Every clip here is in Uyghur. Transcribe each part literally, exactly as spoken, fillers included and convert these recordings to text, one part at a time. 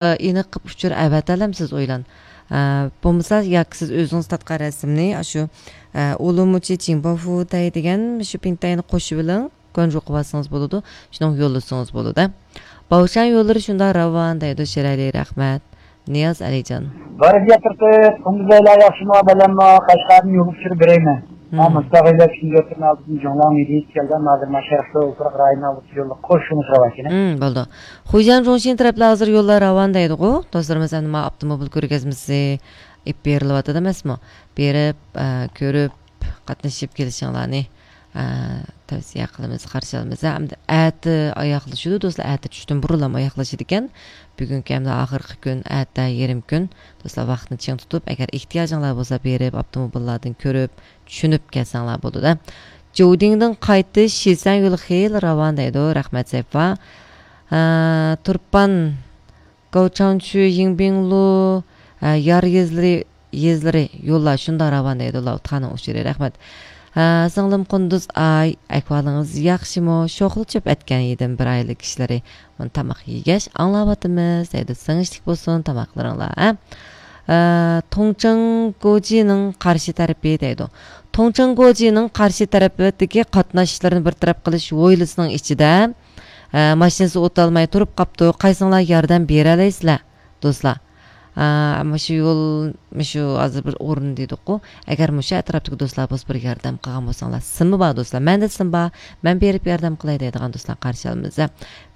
ئېنىق قىلىپ ئۇچۇر ئەۋەتەلەمسىز ئويلان. ئە، بولمىسا ياكى سىز ئۆزىڭىز تارتقان رەسىمنى ئاشۇ، ئە، ئۇلۇمۇچى جىڭباۋفۇتەي دېگەن شۇ پىڭتەينى قوشۇۋېلىڭ. گۇەنجۇغا بارسىڭىز بولىدۇ، شۇنىڭغا يوللىسىڭىز بولىدۇ. باۋشان يوللىرى شۇنداق راۋان دەيدۇ، شىرئەلى رەھمەت. نىياز ئەلىجان. بەرىكەت تۇرسۇن، قۇندۇزەيلار ياخشىمۇ، بەلەممۇ؟ قەشقەردىن يول ئۇچۇرى بېرەيمەن. مم. ھە، مۇستەقىللەر ئۈچۈن يۆتكىلىپ ئالدىدىن جۇڭلىڭ مېدىيىسى كەلگەن، ھازىر ما شەرقىي ئوتتۇراق رايونى ئالدىدا يولدا قوش يولنى سوراۋاتىمەن. مم، بولدى. خۇيجيەن جۇڭشىن تەرەپلەر ھازىر يوللار راۋان دەيدىغۇ. دوستلىرىمىز ئەمدى ما ئاپتوموبىل كۆرگەزمىسى ئېلىپ بېرىلىۋاتىدۇ ئەمەسمۇ؟ بېرىپ، ئە، كۆرۈپ، قاتنىشىپ كېلىشىڭلارنى، ئە، تەۋسىيە قىلىمىز، قارشى ئالىمىز. ھەمدە ئەتە ئاياغلىشىدۇ، دوستلار، ئەتە چۈشتىن بۇرۇنلا ئاياغلىشىدىكەن. بۈگۈنكى ھەمدە ئاخىرقى كۈن، ئەتە يېرىم كۈن. دوستلار، ۋاقىتنى چىڭ تۇتۇپ، ئەگەر ئېھتىياجىڭلار بولسا، بېرىپ، ئاپتوموبىللاردىن كۆرۈپ، چۈشىنىپ كەلسەڭلار بولىدۇ-دە. جودىڭدىن قايتىش شىسەن يولى خېلى راۋان دەيدۇ. رەھمەت، سەيپا. ئە، تۇرپان گاۋچاڭچۈ، يىڭبىڭلۇ، ھە، يار يېزىلىرى، يېزىلىرى، يوللار شۇنداق راۋان دەيدۇ، لاۋۇتخاننىڭ ئۇچۇرى، رەھمەت. ھە، سىڭلىم قۇندۇز ئاي، ئەھۋالىڭىز ياخشىمۇ؟ شوخلا چۆپ ئەتكەن ئىدىم بىر ئائىلە كىشىلىرى. مانا تاماق يېگەچ ئاڭلاۋاتىمىز دەيدۇ، سىڭىشلىك بولسۇن تاماقلىرىڭلار، ھە. ھە، توڭچىڭ گوجىنىڭ قارشى تەرىپى دەيدۇ. توڭچىڭ گوجىنىڭ قارشى تەرىپىدىكى قاتناشلىرىنى بىر تەرەپ قىلىش ھويلىسىنىڭ ئىچىدە ھە، ماشىنىسى ئۆتەلمەي تۇرۇپ قاپتۇ. قايسىڭلار ياردەم بېرەلەيسىلەر، دوستلار؟ ھە، مۇشۇ يول، مۇشۇ ھازىر بىر ئورۇن دېدۇققۇ. ئەگەر مۇشۇ ئەتراپتىكى دوستلار بولسا بىر ياردەم قىلغان بولساڭلار. سىمى بار دوستلار. مەندە سىم بار. مەن بېرىپ ياردەم قىلاي دەيدىغان دوستلار قارشى ئالىمىز.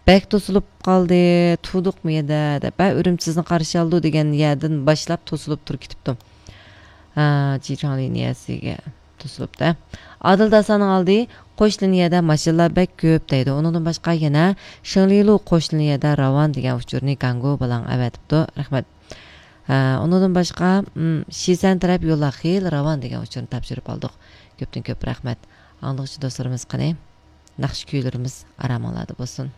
بەك توسۇلۇپ قالدى، تۇردۇقمۇ يەردە دەپ. ھە، ئۈرۈمچى سىزنى قارشى ئالىدۇ دېگەن يەردىن باشلاپ توسۇلۇپ تۇرۇپ كېتىپتۇ. ھە، جىچاڭ لىنىيەسىگە توسۇلۇپتۇ. ئادىل داساننىڭ ئالدى، قوش لىنىيەدە ماشىنىلار بەك كۆپ دەيدۇ. ئۇنىڭدىن باشقا يەنە شېڭلىلۇ قوش لىنىيەدە راۋان دېگەن ئۇچۇرنى گاڭگو بالاڭ ئەۋەتىپتۇ. رەھمەت. ھە، ئۇنىڭدىن باشقا، م، شىسەن تەرەپ يوللار خېلى راۋان دېگەن ئۇچۇرنى تاپشۇرۇپ ئالدۇق. كۆپتىن كۆپ رەھمەت. ئاڭلىغۇچى دوستلىرىمىز قېنى، ناخشا كۈيلىرىمىز ئارامىڭلاردا بولسۇن.